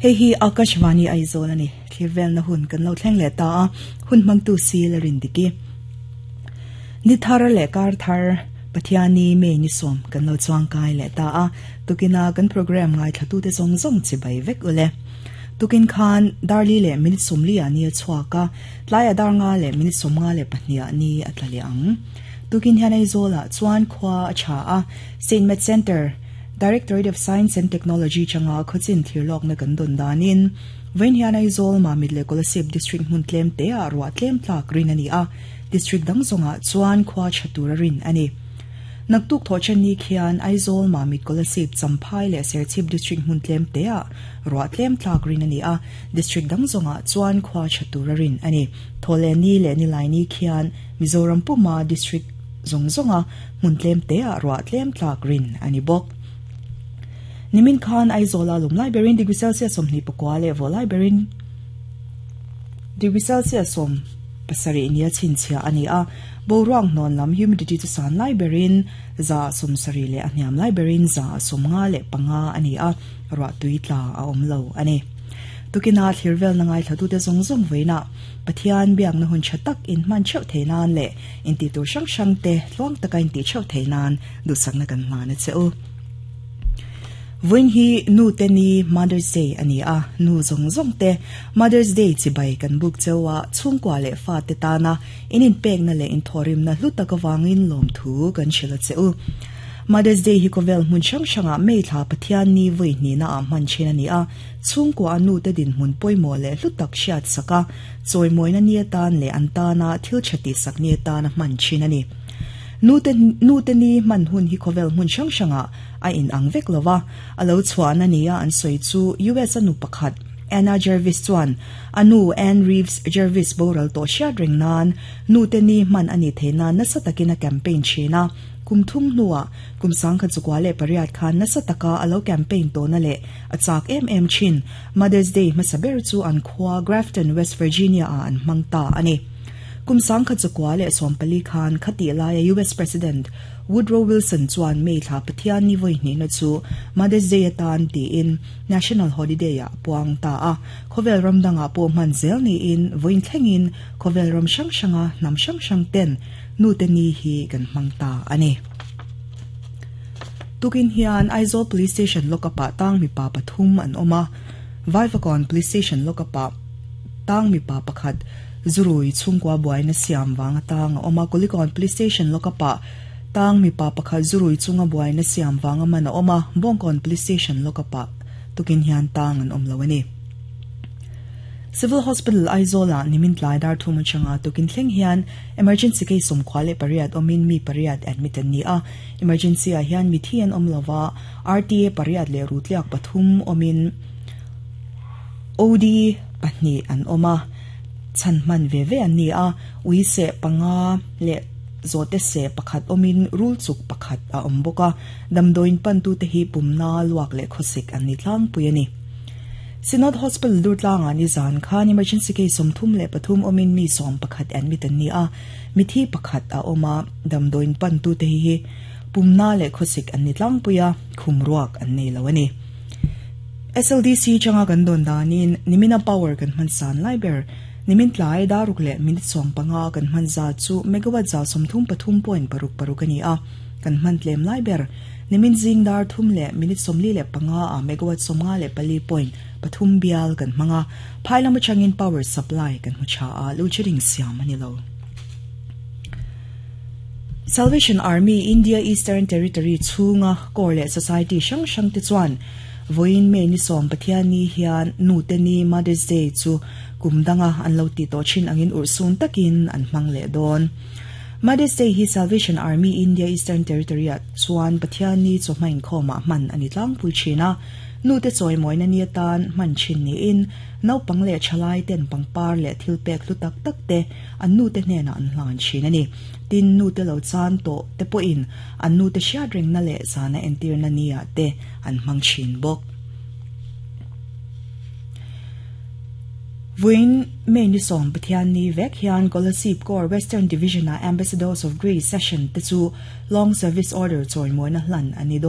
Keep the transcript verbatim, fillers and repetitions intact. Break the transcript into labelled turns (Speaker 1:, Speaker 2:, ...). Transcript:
Speaker 1: Hei hi Akashvani Aizawl ani thirvel na hun kan lo thleng le ta a hun mangtu si la rin diki ni thar le kar thar Pathiani me ni som kan lo chuang kai le ta a tukina kan program ngai thatu te zong zong chi bai vek ule tukin khan darli le minute somli ani chhuaka tlai adar nga le minute somnga le pahnia ni atlali ang tukin hian Aizawl chuan khwa a cha a Saint Met Center Directorate of Science and Technology changa khochin thirlok na kan don danin vein hian Aizawl Mamit le Kolasib district hmun tlem te a ruwa tlem tlak rin ani a district dang zonga chuan khwa chatura rin ani naktuk thochen ni khian Aizawl Mamit Kolasib Champhai le Serchhip district hmun tlem te a ruwa tlem tlak rin ani a district dang zonga chuan khwa chatura rin ani thole ni le ni lai ni khian Mizoram puma district zong zonga hmun tlem te a ruwa tlem tlak rin ani bok Nimin khan Aizawl lum lai berin degree Celsius som ni pakwa le vo lai berin degree Celsius som pasari nia chinchia ani a boruang non lam humidity chu san lai berin za som sari le aniam lai berin za som nga le panga ani a ra tuitla a om lo ani tukina thirvel na ngai thatu te zong zong veina Pathian biang na hun chatak in man cheu theinan le in ti tur sang sang te tluang taka in ti cheu theinan du sang na kan hla na cheu Vun hi nu te ni Mother's Day ani a nu zong zong te Mother's Day chi bai kan buk chewa chungkwa le fa te ta na inin pek na le in thorim na hluta ka wangin lom thu kan shila cheu Mother's Day hi kovel mun chang changa mei thla Pathian ni voi ni na a man chen ani a chungkwa nu te din mun poimo le hlutak shiat saka choi moina ni tan le anta na thil chati sak ni ta na man chin ani nu te nu te ni man hun hi kovel mun chang changa a in ang vek lova alo chuan ania an soi chu U S anu pakhat Anna Jarvis chuan anu Ann Reeves Jarvis boral to sha ring nan nu te ni man ani theina na satakina campaign china kumthum nuwa kumsang kha chukwa le pariat khan na sataka alo campaign to na le achak em em chin Mother's Day masaber chu an khwa Grafton West Virginia a an mangta ani kumsang kha chukwa le sompali khan khati la U S President Woodrow Wilson chuan mei thla Pathian ni voi ni na chu Mother's Day atan ti in National Holiday a puang ta a khovel ramdanga po man zel ni in voin thlengin khovel ram sang sanga nam sang sang ten nu te ni hi kan mangta ani tukin hian Aizawl Police Station lokapa tang mi pa pathum an oma Vaivakon Police Station lokapa tang mi pa pakhat zurui chungkwa buaina siam wanga tang oma Kulikon Police Station lokapa tang mi pa pakhat zurui chunga buaina siam wanga mana oma Bongkon Police Station lokapa tukin hian tang an om lawani Civil Hospital Aizawl nimin tlai dar thuma changa tukin thleng hian emergency case som khwale pariat omin mi pariat admitted ni a emergency a hian mi thian om lova R T A pariat le rutliak pathum omin O D pahni an oma chan man ve ve an ni a ui se panga le zote se pakhat omin rul chuk pakhat a omboka damdoin pan tu te hi pumna luak le khosik an ni tlang puini Synod Hospital Durtlang ani zan khan emergency case som thum le pathum omin mi som pakhat admit an ni a mithi pakhat a oma damdoin pan tu te hi pumna le khosik an ni tlang puya khumruak an nei lo ani S L D C changa kan don danin nimina power kan man san liber nimin tlai daruk le minute som panga kan man za chu megawatt za som thum pathum point paruk paruk ani a kan man tlem liber nimin jing dar thum le minute somli le panga a megawatt somnga le pali point pathum bial kan manga phailam changin power supply kan hucha a luchiring siam ani lo Salvation Army India Eastern Territory chunga Korle Society sang sang te chuan voin me ni som Pathian ni hian nu te ni Mother's Day chu kumdanga an lo ti to chin angin ursun takin an mang le don Mother's Day hi Salvation Army India Eastern Territory at chuan Pathian ni chawhmain khawma man ani tlang pui thina nu te chawi mawina ni atan man chin ni in naupang leh thalai ten pangpar leh thil pek hlu tak tak te an nu te hnenah an hlan thin ani tin nu te lo chan tawh te pawhin an nu te hriat reng na leh zana entir na ni ah te an hmang thin bawk Vuin mei ni som Pathian ni vek hian Kolasib Corps Western Division a Ambassadors of Grace session te chu long service order chawi mawina hlan ani